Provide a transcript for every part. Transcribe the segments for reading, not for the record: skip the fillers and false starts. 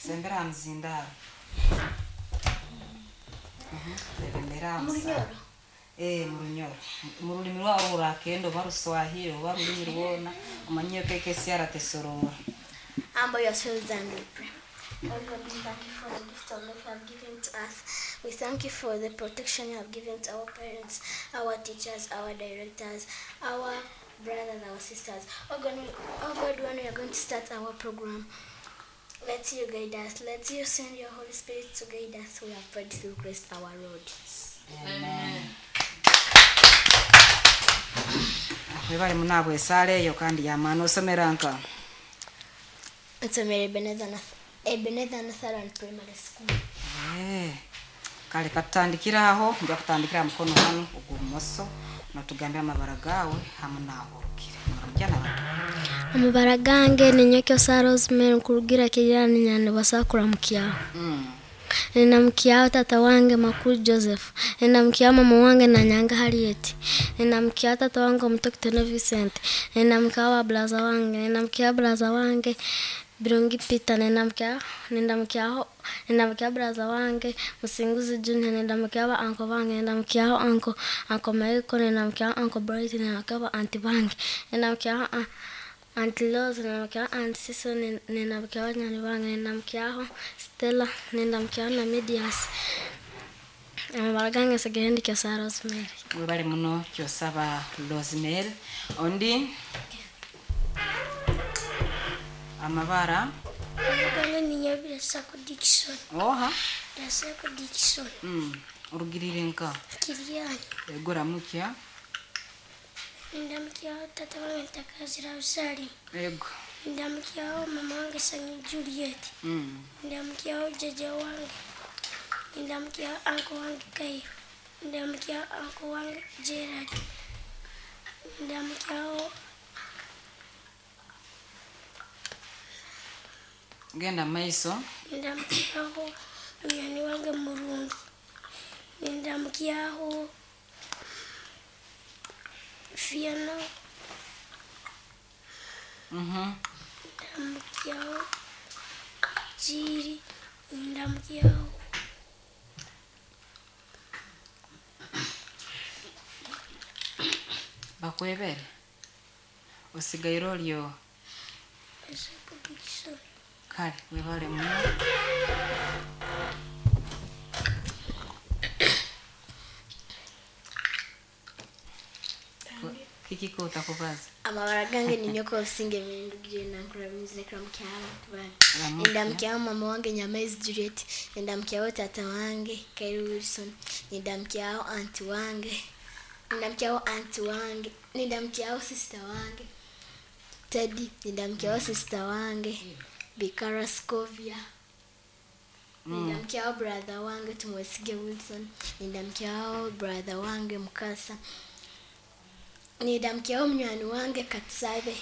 Sembera aha muzindaaro. Rebembera aha musaano. Ee, mu Runyoro. Mu rurimi rwabo orakenda oba Ruswahili oba rurimi rwona, omanye nka esiara tesoroora. Humble yourselves and we pray. Lord God, we thank you for the gift of life you have given to us. We thank you for the protection you have given to our parents, our teachers, our directors, our brothers, our sisters. Oh God, oh God, when we are going to start our program, let you guide us. Let you send your Holy Spirit to guide us. We have prayed through Christ our Lord. Amen. Webale muno ahabw'esaara eyo kandi y'amaani. Osomera nka? Nsomera Ebenezer Ebenezer Lutheran Primary School. Eh, Kale katutandikire aho, nja kutandikira aha mukono hanu ogw'obumoso, notugambira amabara gaawe hamu n'ahu orugire. Noramukya n'abantu. Amabara gange ninyowe Kyosa Rosemary nkurugira Kiryani Nyandibasa kuramukyaho. Ninamukyaho tata wange Makuru Joseph. Ninamukyaho mama wange Nanyanga Harriet. Ninamukyaho tata wange omuto Kitone Vincent. Ninamukyaho ba brother wange. Ninamukyaho brother wange Birungi Peter. Ninamukyaho nindamukyaho nindamukyaho brother wange Musinguzi Junior. Nindamukyaho ba uncle bange. Nindamukyaho uncle uncle Michael. Nindamukyaho uncle Bright. Nindamukyaho ba auntie bange. Nindamukyaho Auntie Rose, nindamukyaho Auntie Cecil, nindamukyaho banywani bange, nindamukyaho Stella, nindamukyaho na Medias. Amabara gange nsigaire ndi Kyosa Rosemary. Webale muno Kyosaba Rosemary. Ondi amabara. Amabara gange ninyowe Birasako Dickson. Oha. Birasako Dickson. Orugirire nka? Kiryani. Ego ramukya. Ndamukyaho tata wange Ntakazira Rosalie. Ego. Ndamukyaho mama wange Sanyu Juliet. Ndamukyaho jjajja wange. Ndamukyaho uncle wange Kairo. Ndamukyaho uncle wange Gerard. Ndamukyaho Genda maiso. Ndamukyaho munywani wange Murungi. Ndamukyaho Fiona. Ndamukyaho Jiri. Ndamukyaho Bakwebere. Osigaire oryo. Birasako Dickson. Kale webale muno. Kiki kotakubaza? Amabara gange ninyowe Kobusinge ndugire nankura nizire kuramukyaho abantu bange. Ramukya. Nindamukyaho mama wange Nyamaizi Juliet. Nindamukyaho tata wange Kairu Wilson. Nindamukyaho auntie wange. Nindamukyaho auntie wange. Nindamukyaho sister wange Teddy. Nindamukyaho sister wange Bikara Scovia. Nindamukyaho brother wange Tumwesige Wilson. Nindamukyaho brother wange Mukasa. Nindamukyaho munywani wange Katusabe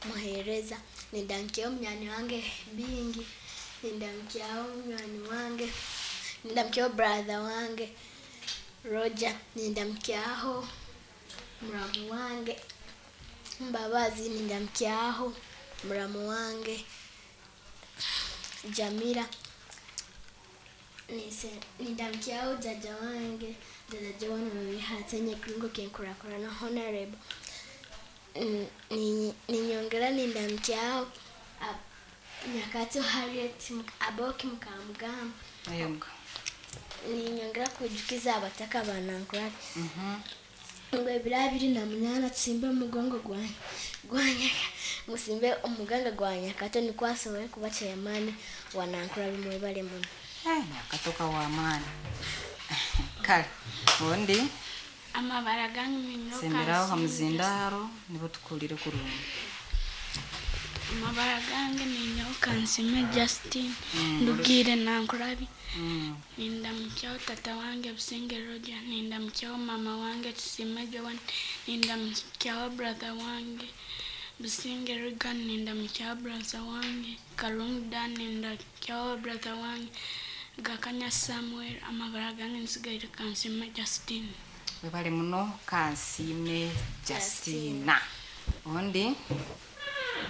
Muhereza. Nindamukyaho munywani wange Bingi. Nindamukyaho munywani wange. Nindamukyaho brother wange Roger. Nindamukyaho muramu wange Mbabazi. Nindamukyaho muramu wange Jamila. Nindamukyaho jjajja wange jjajja Joan Babihatse Kiringo Kenkurakurana Honorable. Ninyongera nindamukyaho Nyakato Harriet Aboki Mukamugamba. Yego. Ninyongera kwijukiza abataka ba Nankurari. Ngo ebiro 28 tusimbe omugongo gwa musimbe omuganga gwa Nyakato nikwo asobole kuba chairman wa Nankurari mwebale muno. Nyakato ka w'amaani. Kale ondi Amabara gange ninyowe semberaho ha Kansiime muzindaaro nibo tukuhurire kurungi. Amabara gange ninyowe Kansiime Justin. Ndugire Nankurabi. Nindamukyaho tata wange Businge Roger. Nindamukyaho mama wange Tusime Joan. Nindamukyaho brother wange Businge Regan. Nindamukyaho brother wange Karungu Dan. Nindamukyaho brother wange Gakanya Samuel. Amabara gange nsigaire Kansiime Justin. Webale muno Kansiime Justina. Ondi